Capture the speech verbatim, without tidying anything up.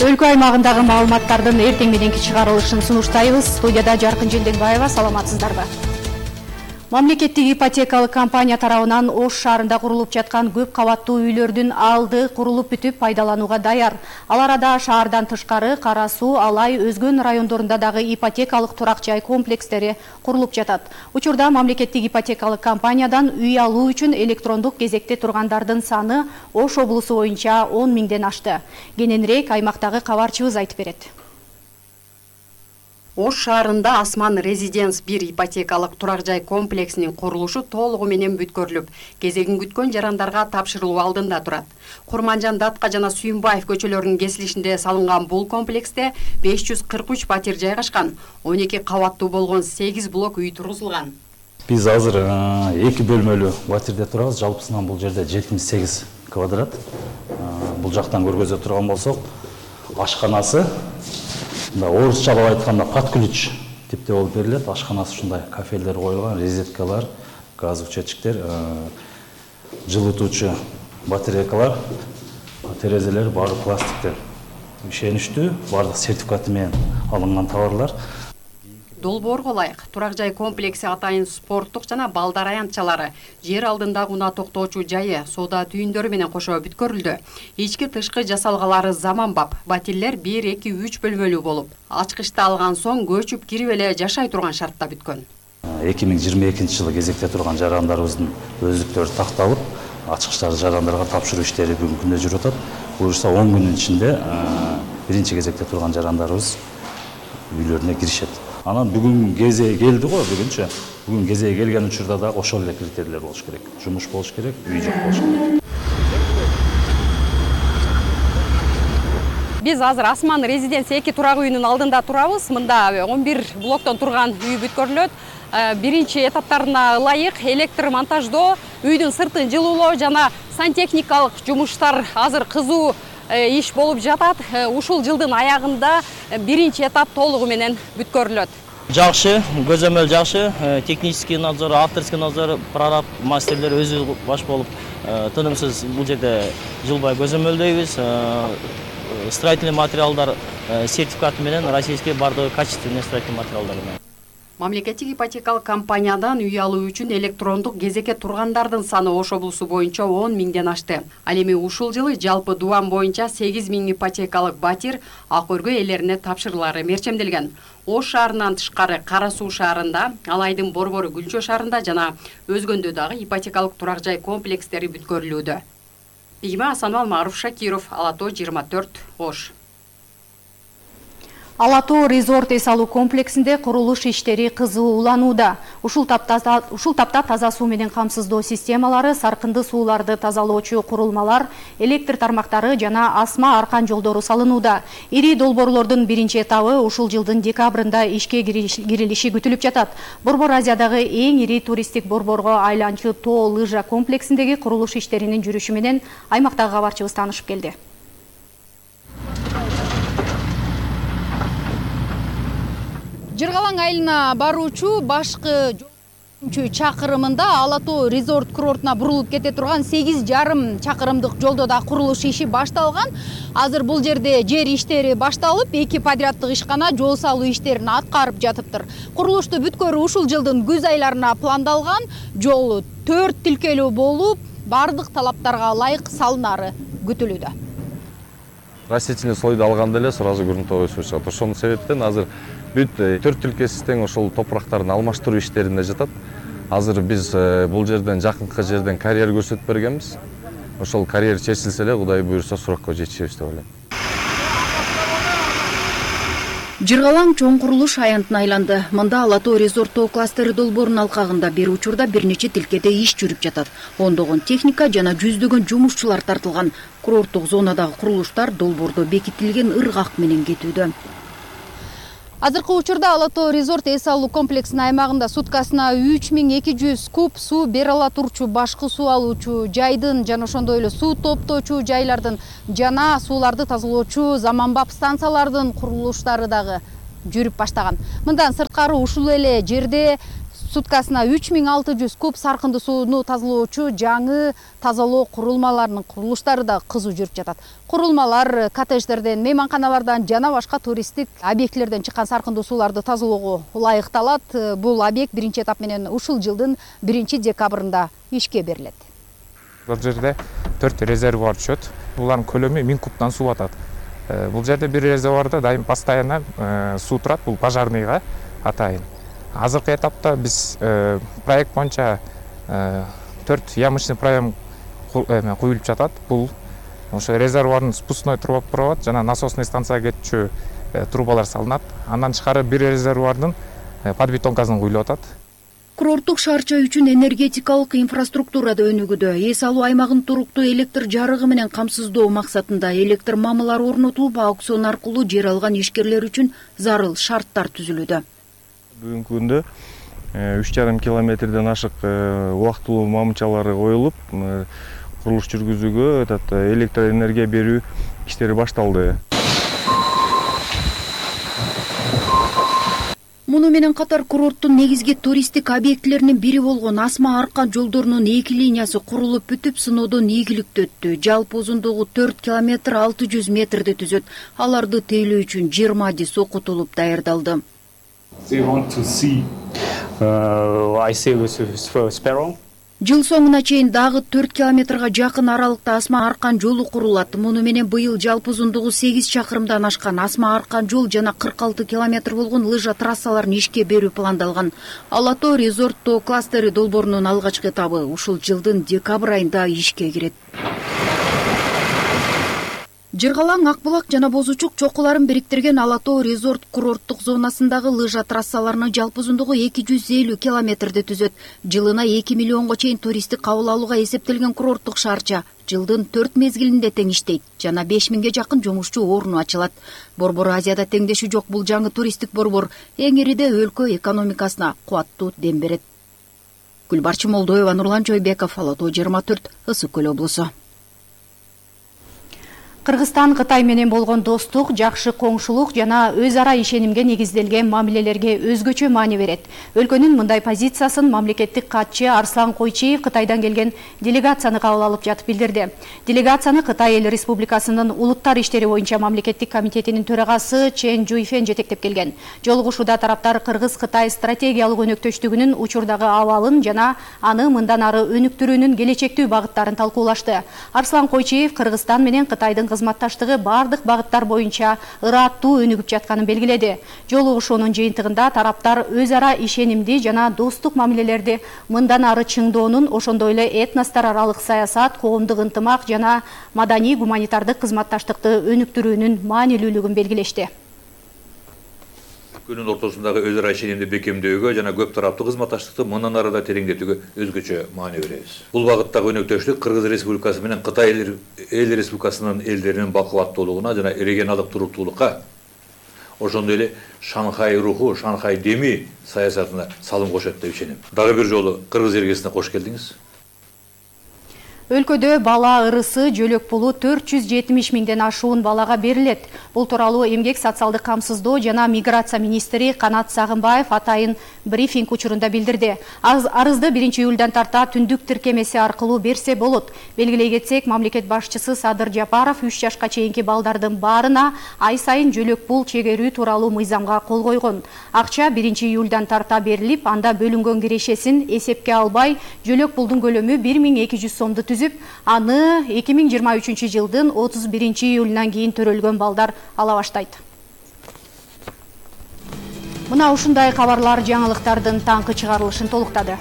Өлкө аймагындагы маалыматтардын эртең мененки чыгарылышын сунуштайбыз. Студияда Жаркын Желденбаева, саламатсыздарбы? Мамлекеттик ипотекалык компания тарабынан Ош шаарында курулуп жаткан көп кабаттуу үйлөрдүн алды курулуп бүтүп пайдаланууга даяр. Ал арада шаардан тышкары Кара Суу, Алай, өзгөн райондорунда дагы ипотекалык турак жай комплекстери курулуп жатат. Учурда мамлекеттик ипотекалык компаниядан үй алуу үчүн электрондук кезекте тургандардын саны Ош облусу боюнча он миңден ашты. Кененирээк аймактагы кабарчыбыз айтып берет. Ош шаарында Асман Резиденс бир ипотекалык турак жай комплексинин курулушу толугу менен бүткөрүлүп, кезегин күткөн жарандарга тапшырылуу алдында турат. Курманжан, Датка жана Сүйүнбаев көчөлөрүнүн кесилишинде салынган бул комплексте беш жүз кырк үч патир жайгашкан, он эки кабаттуу болгон сегиз блок үй тургузулган. Биз азыр эки бөлмөлүү батирде турабыз. Жалпысынан бул жерде жетимиш сегиз квадрат. Бул жактан көргөзө турган болсок, ашканасы орусча айтканда под ключ типте болуп берилет. Ашканасы ушундай кафелдер коюлган, розеткалар, газовый счетчиктер, жылытуучу батарейкалар, терезелер баары пластиктер. Ишеничтүү, баардык сертификаты менен алынган товарлар. Долбоорго ылайык турак жай комплекси атайын спорттук жана балдар аянтчалары, жер алдындагы унаа токтоочу жайы, соода түйүндөрү менен кошо бүткөрүлдү. Ички тышкы жасалгалары заманбап, батирлер бир, эки, үч бөлмөлүү болуп, ачкычты алган соң көчүп кирип эле жашай турган шартта бүткөн. эки миң жыйырма экинчи жылы кезекте турган жарандарыбыздын өздүктөрү такталып, ачкычтарды жарандарга тапшыруу иштери бүгүнкү күндө жүрүп атат. Буюрса он күндүн ичинде биринчи кезекте турган жарандарыбыз үйлөрүнө киришет. Анан бүгүн кезеги келди го, бүгүнчө. Бүгүн кезеги келген учурда да ошол эле критерийлер болуш керек. Жумуш болуш керек, үй жок болуш керек. Биз азыр Асман Резиденс эки турак үйүнүн алдында турабыз. Мында он бир блоктон турган үй бүткөрүлөт. Биринчи этаптарына ылайык электр монтаждоо, үйдүн сыртын жылуулоо жана сантехникалык жумуштар азыр кызуу иш болуп жатат. Ушул жылдын аягында биринчи этап толугу менен бүткөрүлөт. Жакшы, көзөмөл жакшы, технический надзор, авторский надзор, прораб мастерлер өзү баш болуп, тынымсыз бул жерде жылбай көзөмөлдөйбүз. Строительный материалдар сертификаты менен российский бардыгы качественный строительный материалдар менен. Мамлекеттик ипотекалык компаниядан үй алуу үчүн электрондук кезекке тургандардын саны Ош облусу боюнча он миңден ашты. Ал эми ушул жылы жалпы Дубан боюнча сегиз миң ипотекалык батир ак өргө ээлерине тапшырылары мерчемделген. Ош шаарынан тышкары Кара Суу шаарында, Алайдын Борбору Гүлчө шаарында жана өзгөндө дагы ипотекалык турак жай комплекстери бүткөрүлүүдө. Бигима Асанбал, Маруф Шакиров, Ала Тоо жыйырма төрт, Ош. Ала Тоо резорт эс алуу комплексинде курулуш иштери кызууланууда. Ушул тапта ушул тапта таза суу менен камсыздоо системалары, саркынды сууларды тазалоочу курулмалар, электр тармактары жана асма аркан жолдору салынууда. Ири долбоорлордун биринчи этабы ушул жылдын декабрында ишке кирилиши күтүлүп жатат. Борбор Азиядагы эң ири туристтик борборго айланчу Тоо лыжа комплексиндеги курулуш иштеринин жүрүшү менен аймактагы кабарчыбыз таанышып келди. Жыргалаң айылына баруучу башкы чакырымында Ала Тоо резорт курортуна бурулуп кете турган сегиз жарым чакырымдык жолдо да курулуш иши башталган. Азыр бул жерде жер иштери башталып, эки подряддык ишкана жол салуу иштерин аткарып жатыптыр. Курулушту бүткөрүү ушул жылдын күз айларына пландалган. Жол төрт тилкелүү болуп, бардык талаптарга ылайык салынары күтүлүүдө. Растительный слойду алганда эле сразу грунтовый суу чыгат. Ошонун себептен азыр бүт төрт тилкеси тең ошол топурактарын алмаштыруу иштеринде жатат. Азыр биз бул жерден жакынкы жерден карьер көрсөтүп бергенбиз. Ошол карьер чечилсе эле Кудай буйрса суракка жетишебиз деп ойлойм. Жыргалаң чоң курулуш аянтына айланды. Мында Ала Тоо резорт Тоо кластери долбоорунун алкагында бир учурда бир нече тилкеде иш жүрүп жатат. Ондогон техника жана жүздөгөн жумушчулар тартылган. Курорттук зонадагы курулуштар долбоордо бекитилген ыргак менен кетүүдө. Азыркы учурда Ала Тоо резорт эс алуу комплексинин аймагында суткасына үч миң эки жүз куб суу бере ала турчу башкы суу алуучу жайдын жана ошондой эле суу топтоочу жайлардын жана сууларды тазалоочу заманбап станциялардын курулуштары дагы жүрүп баштаган. Мындан сырткары ушул эле жерде суткасына үч миң алты жүз куб саркындуу сууну тазалоочу жаңы тазалоо курулмаларынын курулуштары да кызуу жүрүп жатат. Курулмалар коттедждерден, мейманканалардан жана башка туристтик объектилерден чыккан саркындуу сууларды тазалоого ылайыкталат. Бул объект биринчи этап менен ушул жылдын биринчи декабрында ишке берилет. Бул жерде төрт резервуар түшөт. Булардын көлөмү миң кубтан суу атат. Бул жерде бир резервуарда дайым постоянно суу турат, бул пожарныйга атайын. Азыркы этапта биз проект боюнча төрт ямочный проем куюлуп жатат. Бул ошо резервуардын спускной труба болот, жана насосный станцияга кетчү трубалар салынат. Андан тышкары бир резервуардын подбетонкасын куюлуп атат. Курорттук шаарча үчүн энергетикалык инфраструктура да өнүгүүдө. Эс алуу аймагын туруктуу электр жарыгы менен камсыздоо максатында электр мамылар орнотулуп, аукцион аркылуу жер алган ишкерлер үчүн зарыл шарттар түзүлүүдө. Бүгүнкү күндө үч жарым километрден ашык убактылуу мамычалары коюлуп, курулуш жүргүзүүгө электр энергия берүү иштери башталды. Муну менен катар курорттун негизги туристтик объектилеринин бири болгон Асма Аркан жолдорунун эки линиясы курулуп бүтүп, сыноодон ийгиликтүү өттү. Жалпы узундугу төрт километр алты жүз метрди түзөт. Аларды тейлөө үчүн жыйырма адис окутулуп даярдалды. Жыл соңуна чейин дагы төрт километрга жакын аралыкта Асма Аркан жолу курулат. Муну менен быйыл жалпы узундугу сегиз чакырымдан ашкан Асма Аркан жол жана кырк алты километр болгон лыжа трассаларын ишке берүү пландалган. Алатоо резорт тоо кластери долбоорунун алгачкы этабы ушул жылдын декабрь айында ишке кирет. Жыргалаң, Акбулак жана Бозучук чокуларын бириктирген Алатоо резорт курорттук зонасындагы лыжа трассаларынын жалпы узундугу эки жүз элүү километрди түзөт. Жылына эки миллионго чейин туристти кабыл алууга эсептелген курорттук шаарча жылдын төрт мезгилинде тең иштейт. Жана беш миңге жакын жумушчу орну ачылат. Борбор Азияда теңдеши жок бул жаңы туристтик борбор эң ириде өлкө экономикасына кубаттуу дем берет. Гүлбарчы Молдоева, Нурлан Жойбеков, Алатоо жыйырма төрт, Ысык Көл облусу. Кыргызстан Кытай менен болгон достук, жакшы коңшулук жана өз ара ишенимге негизделген мамилелерге өзгөчө маани берет. Өлкөнүн мындай позициясын мамлекеттик катчы Арслан Койчиев Кытайдан келген делегацияны кабыл алып жатып билдирди. Делегацияны Кытай эл республикасынын улуттар иштери боюнча мамлекеттик комитетинин төрагасы Чен Жуйфен жетектеп келген. Жолугушууда тараптар Кыргыз-Кытай стратегиялык өнөктөштүгүнүн учурдагы абалын жана аны мындан ары өнүктүрүүнүн келечектүү багыттарын талкуулашты. Арслан Койчиев Кыргызстан менен Кытайдын кызматташтыгы бардык багыттар боюнча ыраттуу өнүгүп жатканын белгиледи. Жолугушуунун жыйынтыгында тараптар өз ара ишенимди жана достук мамилелерди мындан ары чыңдоонун, ошондой эле этностор аралык саясат, коомдук ынтымак жана маданий гуманитардык кызматташтыкты өнүктүрүүнүн маанилүүлүгүн белгилешти. Күнүн ортосундагы өз ара ишенимди бекемдөөгө жана көп тараптуу кызматташтыкты мындан ары да тереңдетүүгө өзгөчө маани беребиз. Бул багыттагы өнөктөштүк Кыргыз Республикасы менен Кытай эл республикасынын элдеринин бакылаттуулугуна жана регионалдык туруктуулукка, ошондой эле Шанхай руху, Шанхай деми саясатына салым кошот деп ишенем. Дагы бир жолу Кыргыз эргесине кош келдиңиз. Өлкөдө бала ырысы жөлөк пулу төрт жүз жетимиш миңден ашуун балага берилет. Бул тууралуу Эмгек социалдык камсыздоо жана миграция министри Канат Сагынбаев атайын брифинг учурунда билдирди. Арызды биринчи июлдан тарта түндүк тиркемеси аркылуу берсе болот. Белгилей кетсек, мамлекет башчысы Садыр Жапаров үч жашка чейинки балдардын баарына ай сайын жөлөк пул чегерүү тууралуу мыйзамга кол койгон. Акча биринчи июлдан тарта берилип, анда бөлүнгөн кирешесин эсепке албай, жөлөк пулдун көлөмү бир миң эки жүз сомду түзүп, аны эки миң жыйырма үчүнчү жылдын отуз биринчи июлунан кийин төрөлгөн балдар ала баштайт. Мына ушундай кабарлар жаңылыктардын таңкы чыгарылышын толуктады.